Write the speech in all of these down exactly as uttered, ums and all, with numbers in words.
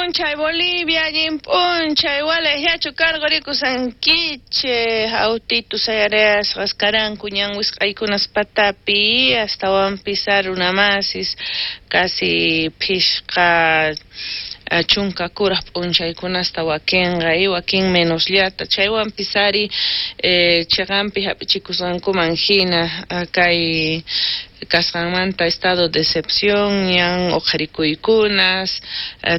p'unchay Bolivia, allin p'unchay Gualeguaychú karqurikusqankichej autitu sayareasqas karanku ñan wisq'aykunas patapi astawanpis runamasis casi phishqa chunka kuraj p'unchaykunasta wakinqa y wakin menosllata chaywanpis ari eh, chiqanpi hap'ichikusqankuman hina kay kasqanmanta estado de excepción ñan uqharikuykunas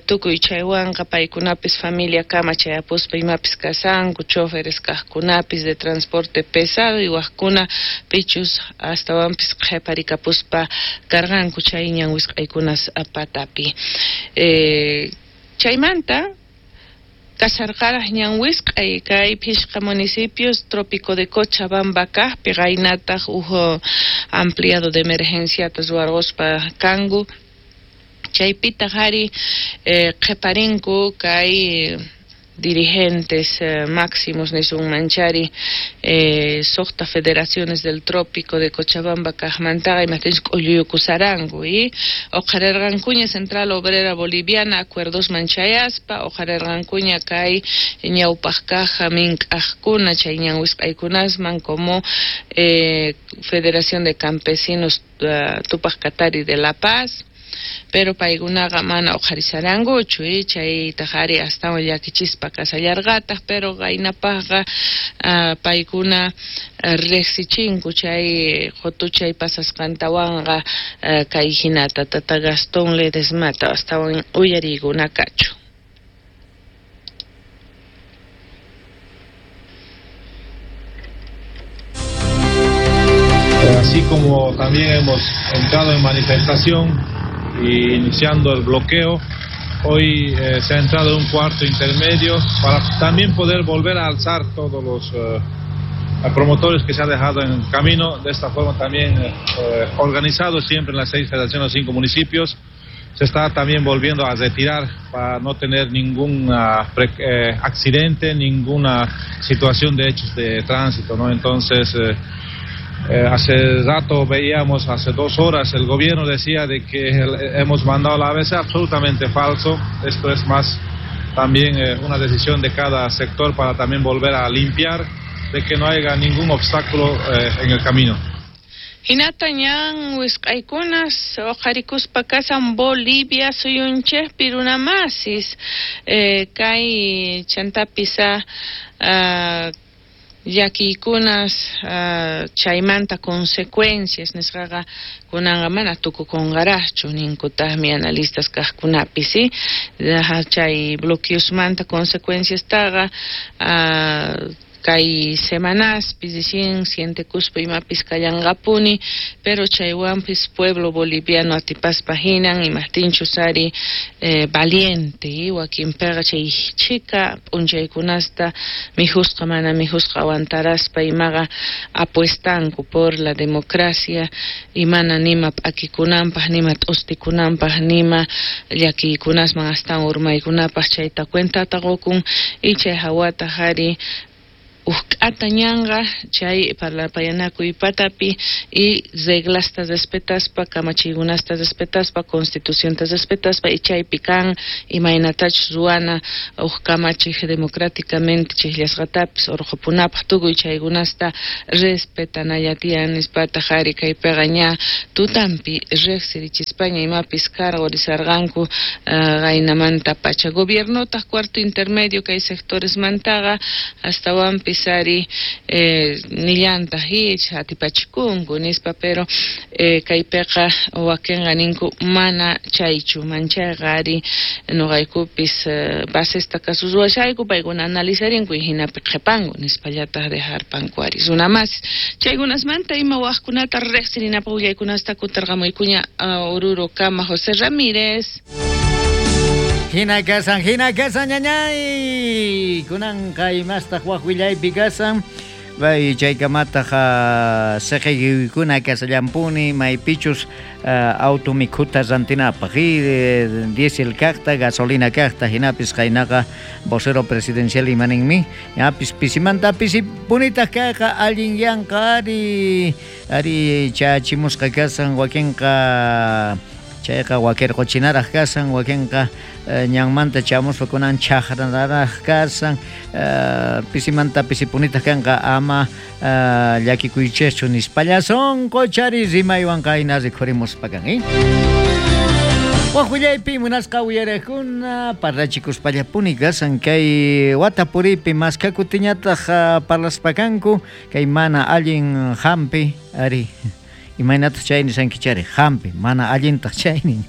tukuy chaywanqa paykunapis familia kama chayapuspa imapis kasanku choferes kaqkunapis de transporte pesado y waqkuna pichus astawanpis qhiparikapuspa karqanku chay ñan wisq'aykunas patapi eh, chaymanta kasarqaraj ñan wisq'ay kay phishqa municipios trópico de Cochabamba kaqpi qaynataq uj ampliado de emergenciata ruwarquspa kanku chaypitaq ari eh, qhiparinku kay dirigentes eh, máximos nisunmanchari eh, suqta federaciones del trópico de Cochabamba kaqmantaqa imaptinchus k'ulluyukusaranku y uqharirqankuña Central Obrera Boliviana acuerdosman chayaspa uqharirqankuña kay ñawpaq kaq mink'aqkuna chay ñan wisq'aykunasman como eh, Federación de Campesinos uh, Tupac Katari de La Paz pero paykunaqa mana uqharisarankuchu y chaytaq ari astawan llakichispa kasallarqataq pero qaynapaqqa uh, paykuna uh, riqsichinku chay qutuchay pasasqantawanqa uh, kay hinata tata Gastón Ledesmata astawan uyariykunakachu. Así como también hemos entrado en manifestación y iniciando el bloqueo, hoy eh, se ha entrado en un cuarto intermedio para también poder volver a alzar todos los eh, promotores que se han dejado en el camino, de esta forma también eh, organizado siempre en las seis federaciones, cinco municipios. Se está también volviendo a retirar para no tener ningún eh, accidente, ninguna situación de hechos de tránsito, ¿no? Entonces, eh, Eh, hace rato veíamos, hace dos horas, el gobierno decía de que hemos mandado la A B C, absolutamente falso. Esto es más también eh, una decisión de cada sector para también volver a limpiar, de que no haya ningún obstáculo eh, en el camino. Hinata ñan wisq'aykunas uqharikuspa kasan Bolivia suyunchikpi runamasis eh, kay chantapis uh, llakiykunas uh, chaymanta consecuencias nisqaqa kunanqa mana tukukunqaraqchu ninkutaqmi analistas kaqkunapis ¿sí? Chay bloqueosmanta consecuenciastaqa uh, kay semanaspi recién sientekuspa imapis kallanqapuni pero chaywanpis pueblo boliviano atipaspa hinan imaptinchus ari eh, valiente y wakinpiqa chay chika p'unchaykunasta mijusqa mana mijusqa aguantaraspa imaqa apuestanku por la democracia y mana nima p'akikunanpaq nima t'ustikunanpaq nima llakiykunasman astawan urmaykunapaq chayta cuentata qukun y chay hawataq ari uqk'ata ñanqa chay parlapayanakuy patapi y reglasta respetaspa kamachiykunasta respetaspa constitucionta respetaspa y chaypi kan imaynatachus ruwana uq kamachiq democráticamente chiqllasqatapis urqupunapaq tukuy chaykunasta respetanalla tiyan nispataq ari kaypiqa ña tutampi riqsirichispaña imapis karqurisarqanku uh, qaynamanta pacha gobiernotaq cuarto intermedio kay sectoresmantaqa astawanpis ari eh, nillantaq ich atipachikunku nispa pero eh, kaypiqa wakinqa ninku mana chaychu manchayqa ari nuqaykupis eh, basesta kasuruwashayku paykuna analizarinku y hinapi qhipanku nispallataq dejarpanku ari runamasis chaykunasmanta ima waqkunata riqsirinapaq willaykunasta kutarqamuykuña uh, Oruro kama José Ramírez. Hina kasan, hina kasan, ñañay. Kunanqa imastaq waq willaypi kasan. Bay chaykamataq siqiykuna kasallampuni maypichus uh, auto mikhuta rantinapaq y eh, diésel kaqta, gasolina kaqta hinapis qaynaqa vocero presidencial imaninmi ñapis pisimanta pisipunitaq kayqa allin yanqa ari ari chachimusqa kasan wakinqa Chayqa wakirquchinaraq kasan, wakinqa ñanmanta chamuspa kunan chaqranaraq kasan, pisimanta pisipunitaq kanqa ama llakikuychikchu nispalla sunquchari rimaywan qayna rikhurimuspa kan, eh? Waj willaypi munasqa uyariqkuna parlachikuspallapuni kasan kay wata puriypi maskakutiñataq parlaspa kanku kay mana allin hampi ari imaynataq chay nisankichari hampi mana allintaq chaynin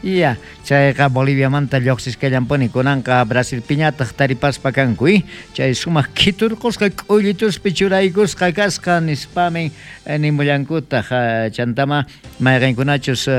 ya chayqa Boliviamanta lluqsisqallampuni kunanqa Brasilpiñataq taripaspa kanku eh? Chay sumaq khiturqusqa k'ullituspi churaykusqa kasqa nispamin nimullankutaq chantama mayqinkunachus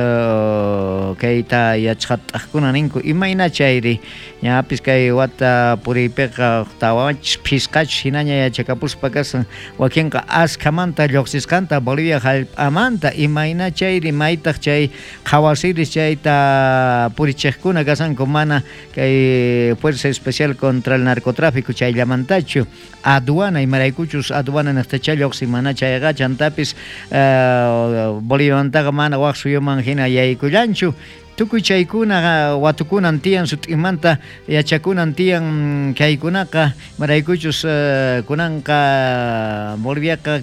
kayta yachqat'aqkuna ninku imayna chayri ñapis kay wata puriypiqa tawachis phisqachus hinaña yachakapuspa kasan wakinqa askhamanta lluqsisqanta Bolivia hallp'amanta imayna chayri maytaq chay qhawasiris chayta purichiqkuna kasanku mana kay Fuerza Especial contra el Narcotráfico chayllamantachu aduana imaraykuchus aduana niqtacha lluqsin mana chayqa chantapis Boliviamantaqa mana waq suyuman hina yaykullanchu tukuy chaykuna watukunan tiyan sut'imanta yachakunan tiyan kaykunaqa imaraykuchus kunanqa Boliviaqa